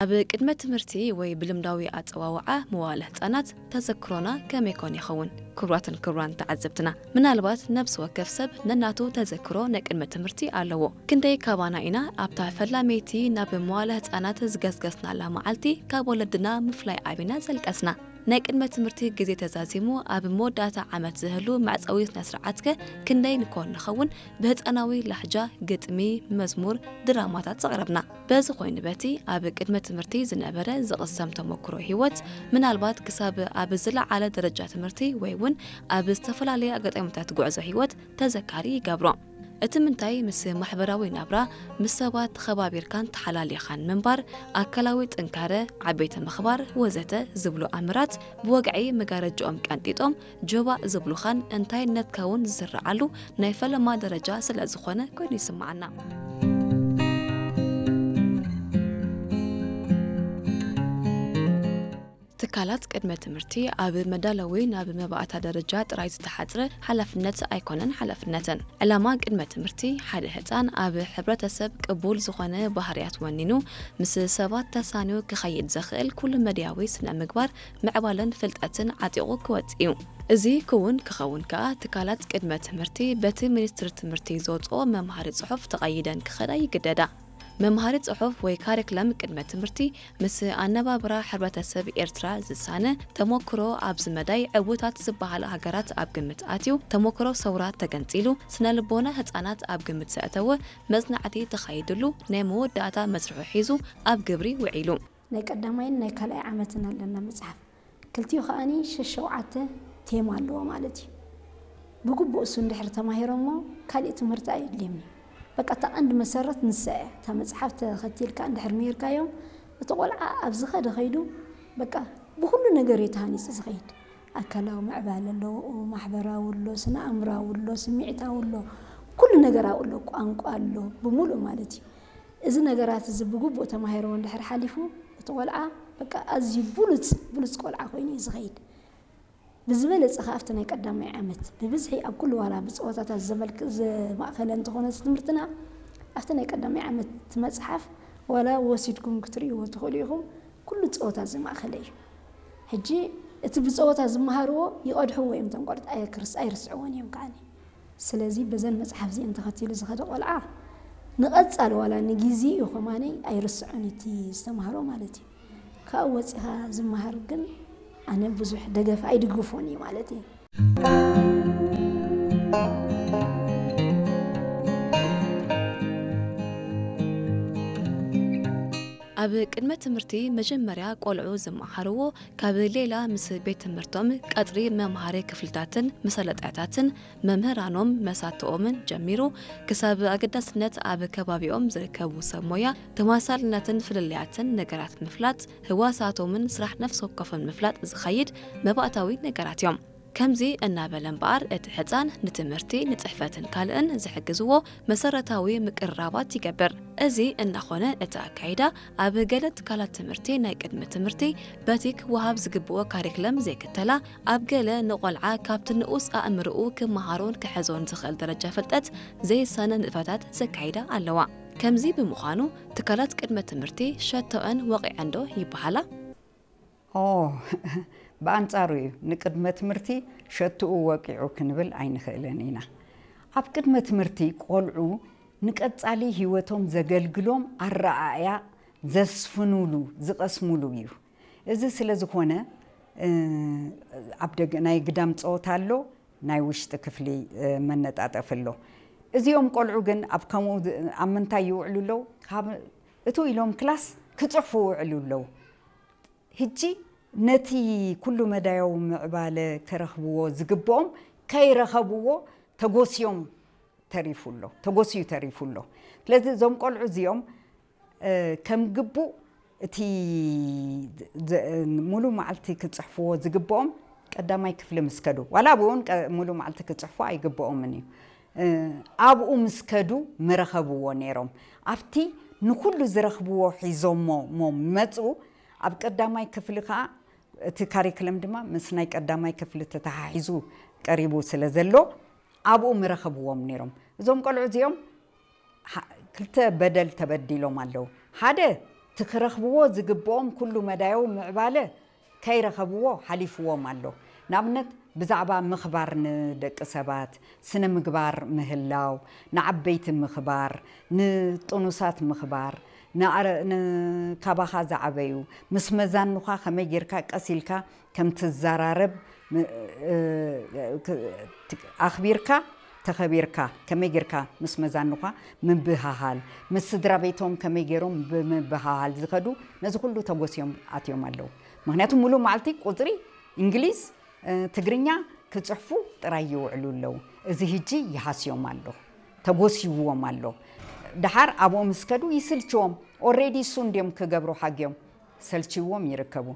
ኣብ ቅድመ ትምህርቲ ወይ ብልምዳዊ ኣጸዋውዓ መዋለ ህጻናት ተዘክሮና ከመይ ኮን ይኸውን? ክቡራትን ክቡራን ተዓዘብትና፣ ምናልባት ነፍሲ ወከፍ ሰብ ነናቱ ተዘክሮ ናይ ቅድመ ትምህርቲ ኣለዎ። ክንደይ ካባና ኢና ኣብታ ፈላመይቲ ናብ መዋለ ህጻናት ዝገስገስናላ መዓልቲ ካብ ወለድና ምፍላይ ዓቢና ዘልቀስና? ናይ ቅድመ ትምህርቲ ግዜ ተዛዚሙ ኣብ መወዳእታ ዓመት ዝህሉ መዕጸዊ ስነ ስርዓትከ ክንደይ ንኮን ንኸውን ብህጻናዊ ላሕጃ ግጥሚ፣ መዝሙር፣ ድራማታት ዘቕረብና? በዚ ኮይኑ በቲ ኣብ ቅድመ ትምህርቲ ዝነበረ ዝቕሰም ተመክሮ ህይወት ምናልባት ክሳብ ኣብ ዝለዓለ ደረጃ ትምህርቲ ወይ እውን ኣብ ዝተፈላለየ ኣጋጣሚታት ጉዕዞ ህይወት ተዘካሪ ይገብሮ። እቲ ምንታይ ምስ ማሕበራዊ ናብራ፣ ምስ ሰባት ተኸባቢርካን ተሓላሊኻን ምንባር፣ ኣካላዊ ጥንካረ፣ ዓበይቲ ምኽባር ወዘተ ዝብሉ ኣምራት ብወግዒ መጋረጃኦም ቀንጢጦም ጆባእ ዝብሉኻን እንታይነትካ እውን ዝስረዓሉ ናይ ፈለማ ደረጃ ስለ ዝኾነ ኮይኑ ይስምዓና። ትካላት ቅድመ ትምህርቲ ኣብ መዳለዊ ናብ መባእታ ደረጃ ጥራይ ዝተሓጽረ ሓላፍነት ኣይኮነን ሓላፍነተን። ዕላማ ቅድመ ትምህርቲ ሓደ ህጻን ኣብ ሕብረተሰብ ቅቡል ዝኾነ ባህርያት ወኒኑ ምስ ሰባት ተሳንዩ ክኸይድ ዘኽእል ኩሉ መድያዊ ስነ ምግባር ምዕባለን ፍልጠትን ዓጢቑ ክወጽእ እዩ። እዚ ክውን ክኸውን ከኣ ትካላት ቅድመ ትምህርቲ በቲ ሚኒስትሪ ትምህርቲ ዘውጽኦ መምሃሪ ጽሑፍ ተቐይደን ክኸዳ ይግደዳ። መምሃሪ ጽሑፍ ወይ ካሪክለም ቅድመ ትምህርቲ ምስ ኣነባብራ ሕብረተሰብ ኤርትራ ዝሳነ ተሞክሮ ኣብዚ መዳይ ዕዉታት ዝበሃላ ሃገራት ኣብ ግምት ኣትዩ፣ ተሞክሮ ሰውራ ተገንጺሉ፣ ስነ ልቦና ህጻናት ኣብ ግምት ዘእተወ መጽናዕቲ ተኻይድሉ ናይ መወዳእታ መስርሑ ሒዙ ኣብ ግብሪ ውዒሉ። ናይ ቀዳማይን ናይ ካልኣይ ዓመትን ኣለና መጽሓፍ። ክልቲኡ ከኣኒ ሸሸውዓተ ቴማ ኣለዎ ማለት እዩ። ብግቡእ እሱ እንድሕር ተማሂሮሞ ካሊእ ትምህርቲ ኣየድልዮም እዩ። በቃ እታ ቀንዲ መሰረት ንሳ እያ። እታ መጽሓፍ ተኸቲልካ እንድሕር ምሂርካዮም እቲ ቆልዓ ኣብ ዝኸደ ከይዱ በቃ ብኹሉ ነገር እዩ ተሃኒጹ ዝኸይድ። ኣካላዊ ምዕባለ ኣለዎ፣ ማሕበራዊ ኣሎ፣ ስነ ኣእምራዊ ኣሎ፣ ስምዒታዊ ኣሎ፣ ኩሉ ነገር ኣብኡ ኣሎ፣ ቋንቋ ኣሎ፣ ብምሉእ ማለት እዩ። እዚ ነገራት እዚ ብግቡእ ተማሂርዎ እንድሕር ሓሊፉ እቲ ቆልዓ በቃ ኣዝዩ ብሉጽ ብሉጽ ቆልዓ ኮይኑ እዩ ዝኸይድ። ብዝበለጸ ከኣ ኣብቲ ናይ ቀዳማይ ዓመት ብብዝሒ ኣብ ኩሉ ዋላ ብጸወታታት ዘመልክ ዘማእኸለ እንተኾነ እዚ ትምህርትና ኣብቲ ናይ ቀዳማይ ዓመት እቲ መጽሓፍ ዋላ ወሲድኩም ክትርእይዎ ትኽእሉ ኢኹም። ኩሉ ጸወታ ዘማእኸለ እዩ። ሕጂ እቲ ብጸወታ ዝመሃርዎ ይቐድሕዎ እዮም እቶም ቆልዑት ኣየክርስ ኣይርስዕዎን እዮም ከዓኒ። ስለዚ በዘን መጽሓፍ እዚአን ተኸቲሉ ዝኸደ ቆልዓ ንቐጻሊ ዋላ ንግዜ እዩ ከማነይ ኣይርስዖን እቲ ዝተማህሮ ማለት እዩ። ካብኡ ወጺኻ ዝመሃር ግን ኣነ ብዙሕ ደገፍ ኣይድግፎን እዩ ማለት እዩ። ኣብ ቅድመ ትምህርቲ መጀመርያ ቆልዑ ዝመሃርዎ ካብ ሌላ ምስ ቤት ትምህርቶም ቀጽሪ መምሃሪ ክፍልታትን መሳለጥያታትን መምህራኖም መሳትኦምን ጀሚሩ ክሳብ ኣገዳስነት ኣብ ከባቢኦም ዝርከቡ ሰብ ሞያ ተመሳሳልነትን ፍልልያትን ነገራት ምፍላጥ ህዋሳቶምን ስራሕ ነፍሲ ወከፎም ምፍላጥ ዝኸይድ መባእታዊ ነገራት እዮም። ከምዚ እናበለ እምበኣር እቲ ሕፃን ንትምህርቲ ንፅሕፈትን ካልእን ዝሕግዝዎ መሰረታዊ ምቅርራባት ይገብር። እዚ እናኾነ እቲ ኣካይዳ ኣብ ገለ ትካላት ትምህርቲ ናይ ቅድሚ ትምህርቲ በቲ ክወሃብ ዝግብኦ ካሪክለም ዘይክተላ ኣብ ገለ ንቆልዓ ካብቲ ንኡስ ኣእምርኡ ክመሃሮን ክሕዞን ዝኽእል ደረጃ ፍልጠት ዘይሳነ ንጥፈታት ዘካይዳ ኣለዋ። ከምዚ ብምዃኑ ትካላት ቅድመ ትምህርቲ ሸቶአን ወቒዐንዶ ይበሃላ? ኦ ብኣንጻሩ እዩ። ንቅድመ ትምህርቲ ሸትኡ ወቂዑ ክንብል ኣይንኽእልን ኢና። ኣብ ቅድመ ትምህርቲ ቆልዑ ንቀጻሊ ህይወቶም ዘገልግሎም ኣረኣእያ ዘስፍኑሉ፣ ዝቐስሙሉ እዩ። እዚ ስለ ዝኾነ ኣብ ደገ ናይ ግዳም ጸወታ ኣሎ፣ ናይ ውሽጢ ክፍሊ መነጣጠፊ ኣሎ። እዚኦም ቆልዑ ግን ኣብ ከምኡ ኣብ ምንታይ ይውዕሉ ኣለዉ? ካብ እትው ኢሎም ክላስ ክጽሕፉ ይውዕሉ ኣለዉ። ሕጂ ነቲ ኩሉ መዳያዊ ምዕባለ ክረኽብዎ ዝግብኦም ከይረኸብዎ ተጎስዮም ተሪፉ ኣሎ፣ ተጎስዩ ተሪፉ ኣሎ። ስለዚ እዞም ቆልዑ እዚኦም ከም ግቡእ እቲ ሙሉ መዓልቲ ክፅሕፍዎ ዝግብኦም ቀዳማይ ክፍሊ ምስ ከዱ፣ ዋላ ኣብኡ እውን ሙሉ መዓልቲ ክፅሕፉ ኣይግብኦምን እዩ። ኣብኡ ምስ ከዱ ምረኸብዎ ነይሮም። ኣብቲ ንኩሉ ዝረኽብዎ ሒዞሞ እሞ መፁ። ኣብ ቀዳማይ ክፍሊ ከዓ እቲ ካሪክለም ድማ ምስ ናይ ቀዳማይ ክፍሊ ተተሓሒዙ ቀሪቡ ስለ ዘሎ ኣብኡ ምረኸብዎም ነይሮም። እዞም ቆልዑ እዚኦም ክልተ በደል ተበዲሎም ኣለዉ። ሓደ እቲ ክረኽብዎ ዝግብኦም ኩሉ መዳያዊ ምዕባለ ከይረኸብዎ ሓሊፍዎም ኣሎ። ንኣብነት ብዛዕባ ምኽባር ንደቂ ሰባት፣ ስነ ምግባር ምህላው፣ ንዓበይቲ ምኽባር፣ ንጥኑሳት ምኽባር፣ ንኣረ- ንካባኻ ዝዓበዩ ምስ መዛኑኻ ከመይ ጌርካ ቀስ ኢልካ ከም ትዘራረብ ም- እ- እ- ኣኽቢርካ ተኸቢርካ ከመይ ጌርካ ምስ መዛኑኻ ምብሃሃል፣ ምስ ስድራ ቤቶም ከመይ ገይሮም ብምብሃሃል ዝኸዱ፣ ነዚ ኩሉ ተጎስዮም ኣትዮም ኣለዉ። ምክንያቱ ሙሉእ መዓልቲ ቁፅሪ እንግሊዝ ትግርኛ ክፅሕፉ ጥራይ ይውዕሉ ኣለዉ። እዚ ህጂ ይሃስዮም ኣሎ፣ ተጎስይዎም ኣሎ። ደሓር ኣብኡ ምስ ከዱ ይስልችዎም። ኦሬዲ እሱ እንድዮም ክገብሩ ሓግዮም ሰልችዎም ይርከቡ።